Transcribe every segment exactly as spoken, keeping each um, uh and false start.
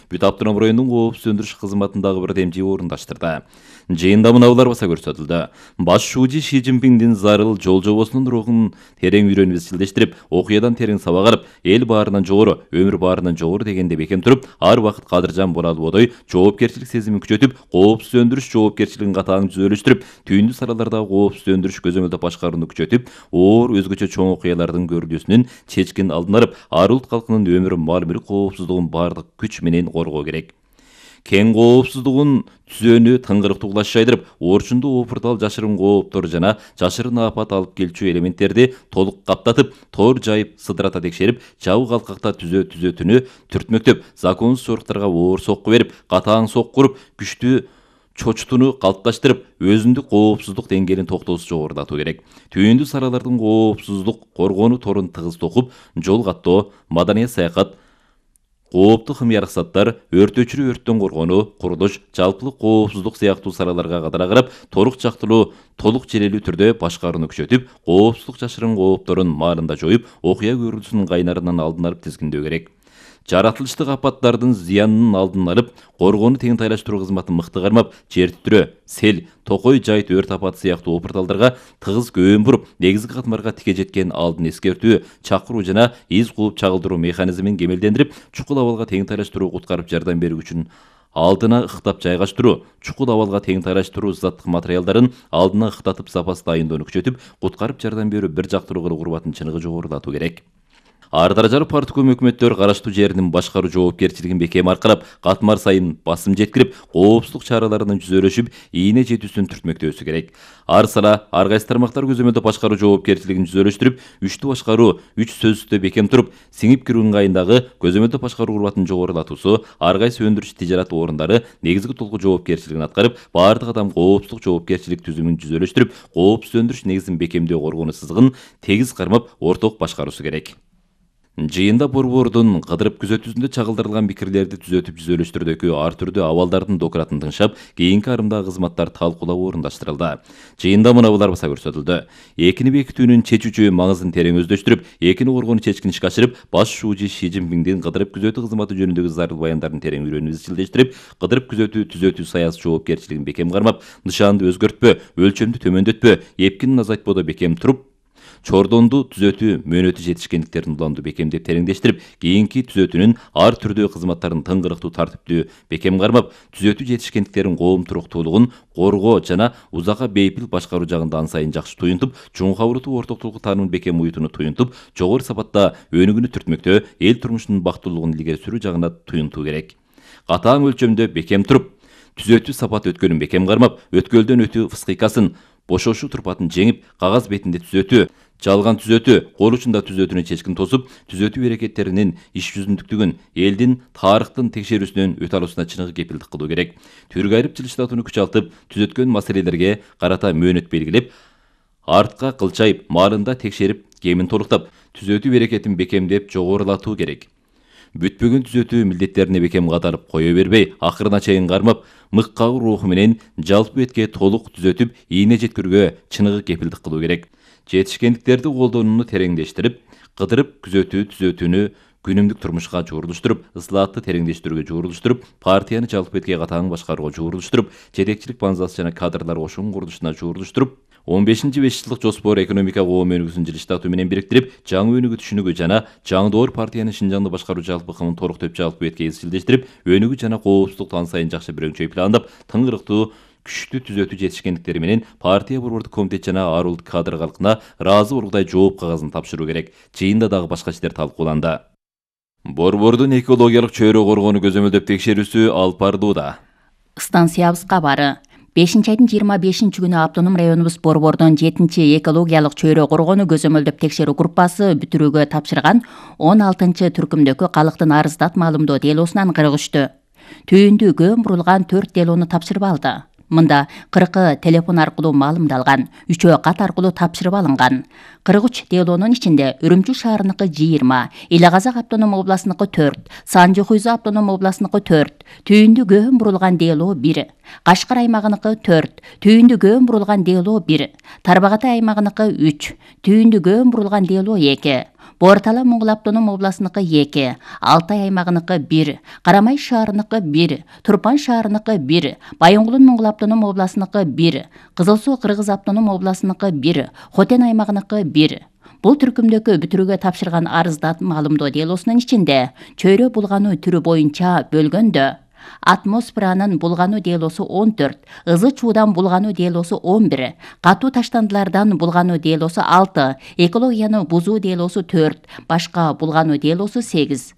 Бүт автоном районунун коопсуз өндүрүш кызматындагы бир демчи орундаштырды. Жыйында мынаулар баса көрсөтүлдү. Баш шууji Ши Цзиньпиндин зарыл жол жобосунун рухун терең үйрөнүп изчилдештирип, окуядан терең сабак алып, эл баарынан жогору, өмүр баарынан жогору дегенде бекем туруп, ар убакыт кадыржан бола албодой жоопкерчилик сезимин күчөтүп, коопсуз өндүрүш жоопкерчилигин катаң түзөлүштүрүп, түйүндүү салалардагы коопсуз өндүрүш көзөмөлдөп башкарууну күчөтүп, оор өзгөчө чоң окуялардын көрүлүүсүнүн чечкин алдын алып, ар улут калкынын өмүрү, мал мүлк коопсуздугун бардык күч менен коргоо керек. Кен коопсуздугун түзөөнү тыңгырыктуу кулаш жайдырып, орчундуу опуртал жашырын кооптор жана жашырын апат алып келчү элементтерди толук каптатып, тор жайып, сыдырата текшерип, жабык алкакта түзөө түзөтүнү түртмөктөп, законсуз соруктарга оор сокку берип, катаң сокку уруп, күчтүү чочтуну калыпташтырып, өзүндүк коопсуздук деңгээлин токтоосуз жогорулатуу керек. Түйүндүү салалардын коопсуздук коргонуу торун тыгыз токуп, жол каттоо, маданият саякат, кооптуу химиялык заттар, өрт өчүрүү, өрттөн коргонуу, курулуш, жалпылык коопсуздук сыяктуу салаларга кадара карап, торук жактылуу, толук желелүү түрдө башкарууну күчөтүп, коопсуздук жашырын коопторун маалында жоюп, окуя көрүлүүсүнүн кайнарынан алдын алып тизгиндөө керек. Жаратылыштык апаттардын зыянынын алдын алып, коргоону тең тайлаштыруу кызматын мыкты кармап, жер титирөө, сел, токой, жайыт, өрт апаты сыяктуу опурталдарга тыгыз көөн буруп, негизги катмарга тике жеткен алдын эскертүү, чакыруу жана из кууп чагылдыруу механизмин кемелдендирип, чукул абалга тең тайлаштыруу куткарып жардам берүү үчүн алдына ыктап жайгаштыруу, чукул абалга тең тайлаштыруу заттык материалдарын алдына ыктатып запас дайындоону күчөтүп, куткарып жардам берүү бир жактылуу кылуу урбатын чыныгы жогорулатуу керек. Ар даражалуу партком өкмөттөр караштуу жеринин башкаруу жоопкерчилигин бекем аркалап, катмар сайын басым жеткирип, коопсуздук чараларынын жүзөлөшүп, ийне жетүүсүн түртмөктөөсү керек. Ар сала, ар кайсы тармактар көзөмөлдөп башкаруу жоопкерчилигин жүзөлөштүрүп, үчтүү башкаруу, үч сөзсүздө бекем туруп, сиңип кирүү ыңгайындагы көзөмөлдөп башкаруу урбатын жогорулатуусу, ар кайсы өндүрүш тижарат орундары негизги толку жоопкерчилигин аткарып, баардык адам коопсуздук жоопкерчилик түзүмүн жүзөлөштүрүп, коопсуз өндүрүш негизин бекемдөө коргонуу сызыгын тегиз кармап, орток башкаруусу керек. Жыйында борбордун кыдырып күзөтүүсүндө чагылдырылган пикирлерди түзөтүп жүзөлөштүрүүдөгү ар түрдүү абалдардын докуратын тыңшап, кийинки арымдагы кызматтар талкуулап орундаштырылды. Жыйында мынаулар баса көрсөтүлдү. Экини бекитүүнүн чечүүчү маңызын терең өздөштүрүп, экини коргонуу чечкин ишке ашырып, баш шууji Ши Цзиньпиндин кыдырып күзөтүү кызматы жөнүндөгү зарыл баяндарын терең үйрөнүп изчилдештирип, кыдырып күзөтүү түзөтүү саясий жоопкерчилигин бекем кармап, нышанды өзгөртпө, өлчөмдү төмөндөтпө, эпкинин азайтпоодо бекем туруп, чордонду түзөтүү мөөнөтү жетишкендиктерин уланду бекемдеп тереңдештирип, кийинки түзөтүүнүн ар түрдүү кызматтарын тыңгырыктуу тартиптүү бекем кармап, түзөтүү жетишкендиктерин коомтуруктуулугун коргоо жана узакка бейпил башкаруу жагында ан сайын жакшы туюнтуп, чоң кабырдуу ортоктулук таанымын бекем уютууну туюнтуп, жогору сапатта өнүгүүнү түртмөктөө, эл турмушунун бактылуулугун илгери сүрүү жагына туюнтуу керек. Катаң өлчөмдө бекем туруп, түзөтүү сапат өткөлүн бекем кармап, өткөлдөн өтүү фыскыйкасын, бошошуу турпатын жеңип, кагаз бетинде түзөтүү, жалган түзөтүү, кол учунда түзөтүүнү чечкин тосуп, түзөтүү аракеттеринин иш жүзүндүктүгүн, элдин тарыхтын текшерүүсүнөн өтө алуусуна чыныгы кепилдик кылуу керек. Түргө айырып жылыштатууну күч алтып, түзөткөн маселелерге карата мөөнөт белгилеп, артка кылчайып, маалында текшерип, кемин толуктап, түзөтүү аракетин бекемдеп жогорулатуу керек. Бүтпөгөн түзөтүү милдеттерине бекем катарып кое бербей, акырына чейин кармап, мык кагуу руху менен жалпы бетке толук түзөтүп, ийне жеткирүүгө чыныгы кепилдик кылуу керек. Жетишкендиктерди колдонууну тереңдештирип, кыдырып күзөтүү түзөтүүнү күнүмдүк турмушка жуурулуштуруп, ысылаатты тереңдештирүүгө жуурулуштуруп, партияны жалпы бетке катаң башкарууга жуурулуштуруп, жетекчилик базасы жана кадрлар кошуун курулушуна жуурулуштуруп, он бешинчи беш жылдык жоспор экономика коом өнүгүүсүн жылыштатуу менен бириктирип, жаңы өнүгүү түшүнүгү жана жаңы доор партиянын Шинжаңды башкаруу жалпы ыкымын толуктап жалпы бетке изчилдештирип, өнүгүү жана коопсуздукту ан сайын жакшы бирөңчөй пландап, тыңгырыктуу күчтүү түзөтүү жетишкендиктери менен партия борбордук комитет жана ар улут кадр калкына ыраазы болгудай жооп кагазын тапшыруу керек. Жыйында дагы башка иштер талкууланды. Борбордун экологиялык чөйрө коргоону көзөмөлдөп текшерүүсү алып барылууда. Станциябыз кабары. бешинчи айдын жыйырма бешинчи күнү автоном районубуз борбордон жетинчи экологиялык чөйрө коргоону көзөмөлдөп текшерүү группасы бүтүрүүгө тапшырган он алтынчы түркүмдөгү калктын арыздат маалымдоо делосунан кырк үчтү. Түйүндүү көөн бурулган төрт делону тапшырып алды. Мында кыркы телефон аркылуу маалымдалган, үчөө кат аркылуу тапшырып алынган. кырк үч делонун ичинде Үрүмчү шаарыныкы жыйырма, Эле Казак автоном областыныкы төрт, Санжы Хуйза автоном областыныкы төрт, түйүндүү көөн бурулган дело бир, Кашкар аймагыныкы төрт, түйүндүү көөн бурулган дело бир, Тарбагатай аймагыныкы үч, түйүндүү көөн бурулган дело эки, Боор Тала Моңгол автоном областыныкы эки, Алтай аймагыныкы бир, Карамай шаарыныкы бир, Турпан шаарыныкы бир, Байоңгулун Моңгол автоном областыныкы бир, Кызыл Суу Кыргыз автоном областыныкы бир, Хотен аймагыныкы бир. Бул түркүмдөгү бүтүрүүгө тапшырган арыздат маалымдоо делосунун ичинде чөйрө булгануу түрү боюнча бөлгөндө атмосферанын булгануу делосу он төрт, ызы чуудан булгануу делосу он бир, катуу таштандылардан булгануу делосу алты, экологияны бузуу делосу төрт, башка булгануу делосу сегиз.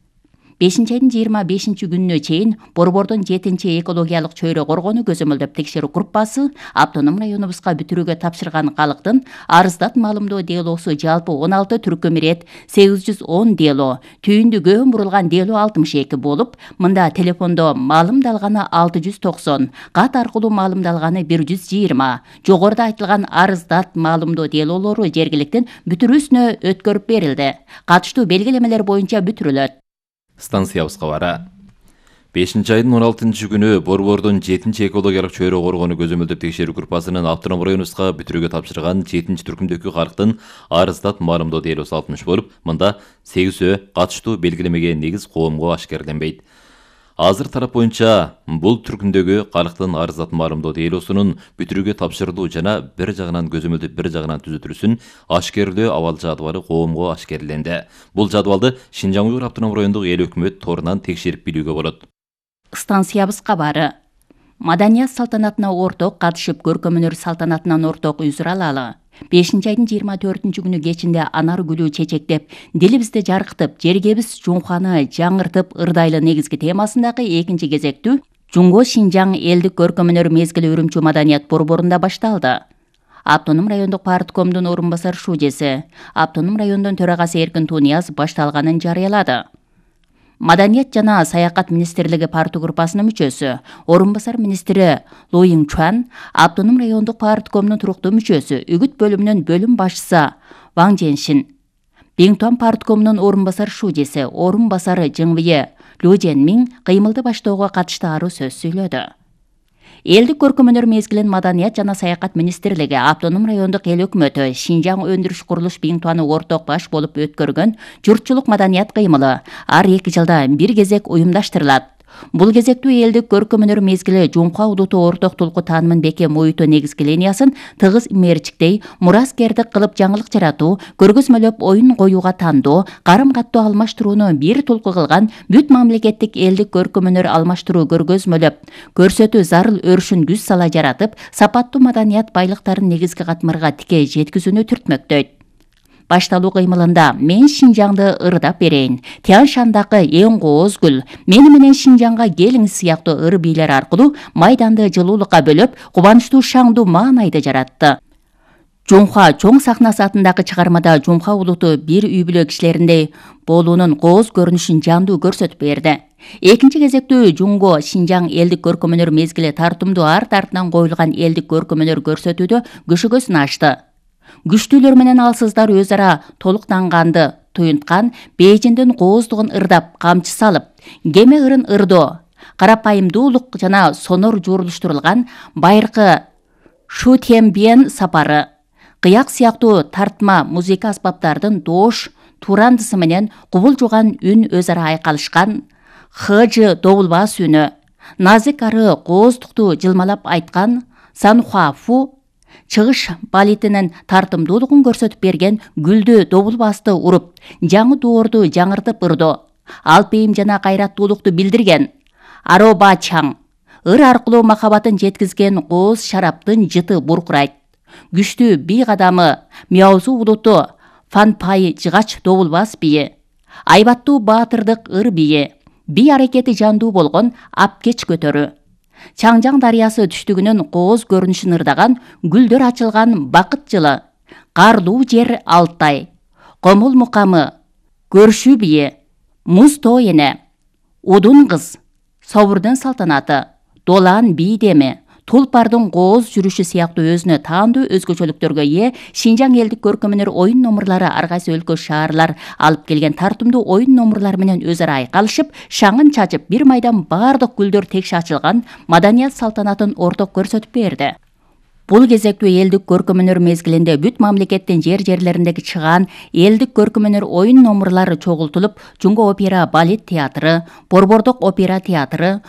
бешинчи айдын жыйырма бешинчи күнүнө чейин Борбордун жетинчи экологиялык чөйрө коргонуу көзөмөлдөп текшерүү группасы автоном районубузга бүтүрүүгө тапшырган калктын арыздат маалымдоо делосу жалпы он алты түркүм ирет сегиз жүз он дело, түйүндү көөн бурулган дело алтымыш эки болуп, мында телефондо маалымдалганы алты жүз токсон, кат аркылуу маалымдалганы бир жүз жыйырма, жогоруда айтылган арыздат маалымдоо делолору жергиликтин бүтүрүүсүнө өткөрүп берилди. Катыштуу белгилемелер боюнча бүтүрүлөт. Станциябыз кабары. бешинчи айдын он алтынчы күнү Борбордун жетинчи экологиялык чөйрө коргонуу көзөмөлдөп текшерүү группасынын автоном районубузга бүтүрүүгө тапшырган жетинчи түркүмдөгү калктын арыздат маалымдоо делосу алтымыш болуп, мында сегизөө катыштуу белгилемеге негиз коомго ашкерленбейт. Азыр тарап боюнча бул түркүмдөгү калктын арыздат маалымдоо делосунун бүтүрүүгө тапшырылуу жана бир жагынан көзөмөлдөп бир жагынан түзөтүлүүсүн ашкерлөө абал жадыбалы коомго ашкерленди. Бул жадыбалды Шинжаң Уйгур автоном райондук эл өкмөт торунан текшерип билүүгө болот. Станциябыз кабары. Маданият салтанатына орток катышып көркөмөнөр салтанатынан орток үзүр алалы. бешинчи айдын жыйырма төртүнчү күнү кечинде анар гүлү чечектеп, дилибизди жаркытып, жергебиз Жунханы жаңыртып ырдайлы негизги темасындагы экинчи кезектүү Жунго Шинжаң элдик көркөмөнөр мезгили Үрүмчү маданият борборунда башталды. Автоном райондук парткомдун орун басар шужеси, автоном райондун төрагасы Эркин Тунияз башталганын жарыялады. Маданият жана саякат министрлиги парты группасынын мүчөсү, орун басар министри Лу Йиңчуан, автоном райондук парткомдун туруктуу мүчөсү, үгүт бөлүмүнүн бөлүм башчысы Ваң Женшин, Биңтуан парткомунун орун басар шужеси, орун басары Жыңвие Лу Женмиң кыймылды баштоого катышты аруу сөз сүйлөдү. Элдик көркөмөнөр мезгилин Маданият жана саякат министрлиги, автоном райондук эл өкмөтү, Шинжаң өндүрүш курулуш Биңтуаны орток баш болуп өткөргөн журтчулук маданият кыймылы ар эки жылда бир кезек уюмдаштырылат. Бул кезектүү элдик көркөмөнөр мезгили Жумка удуту орток тулку таанымын бекем оюуту негизги линиясын тыгыз мерчиктей, мураскердик кылып жаңылык жаратуу, көргөзмөлөп оюн коюуга тандоо, карым каттоо алмаштырууну бир тулку кылган бүт мамлекеттик элдик көркөмөнөр алмаштыруу көргөзмөлөп көрсөтүү зарыл өрүшүн күз сала жаратып, сапаттуу маданият байлыктарын негизги катмарга тике жеткизүүнү түртмөктөйт. Башталуу кыймылында мен Шинжаңды ырдап берейин, Тянь Шандагы эң кооз гүл, мени менен Шинжаңга келиңиз сыяктуу ыр бийлер аркылуу майданды жылуулукка бөлөп, кубанычтуу шаңдуу маанайды жаратты. Жумха чоң сахнасы атындагы чыгармада Жумха улуту бир үй бүлө кишилериндей болуунун кооз көрүнүшүн жандуу көрсөтүп берди. Экинчи кезектүү Жунго Шинжаң элдик көркөмөнөр мезгили тартымдуу арт артынан коюлган элдик көркөмөнөр көрсөтүүдө көшөгөсүн ачты. Күчтүүлөр менен алсыздар өз ара толуктанганды туюнткан, Бейжиңдин кооздугун ырдап, камчы салып, кеме ырын ырдоо, карапайымдуулук жана сонор жуурулуштурулган байыркы Шу Тяньбиен сапары, кыяк сыяктуу тартма музыка аспаптардын доош турандысы менен кубулжуган үн өз ара айкалышкан, хыжы добулбас үнү, назик ары кооздукту жылмалап айткан Санхуафу чыгыш балетинин тартымдуулугун көрсөтүп берген гүлдү добулбасты уруп, жаңы доорду жаңыртып ырдоо, алпейим жана кайраттуулукту билдирген Ароба Чаң ыр аркылуу махабатын жеткизген кооз шараптын жыты буркурайт. Күчтүү бий кадамы Мяузу улуту Фанпай жыгач добулбас бийи, айбаттуу баатырдык ыр бийи, бий аракети жандуу болгон Апкеч көтөрү, Чаңжаң дарыясы түштүгүнүн кооз көрүнүшүн ырдаган гүлдөр ачылган бакыт жылы, Карлуу жер Алтай, Комул мукамы, Көршүү бийи, Муз тоо эне, Удун кыз, Собурдун салтанаты, Долан бий деми, Тулпардын кооз жүрүшү сыяктуу өзүнө таандуу өзгөчөлүктөргө ээ Шинжаң элдик көркөмөнөр оюн номурлары ар кайсы өлкө шаарлар алып келген тартымдуу оюн номурлар менен өз ара айкалышып, шаңын чачып, бир майдан баардык гүлдөр текши ачылган маданият салтанатын орток көрсөтүп берди. Бул кезектүү элдик көркөм-өнөр мезгилинде бүт мамлекеттин жер жерлериндеги чыгаан элдик көркөм-өнөр оюн номурлары чогултулуп, Жумго опера балет театры, Борбордук опера театры,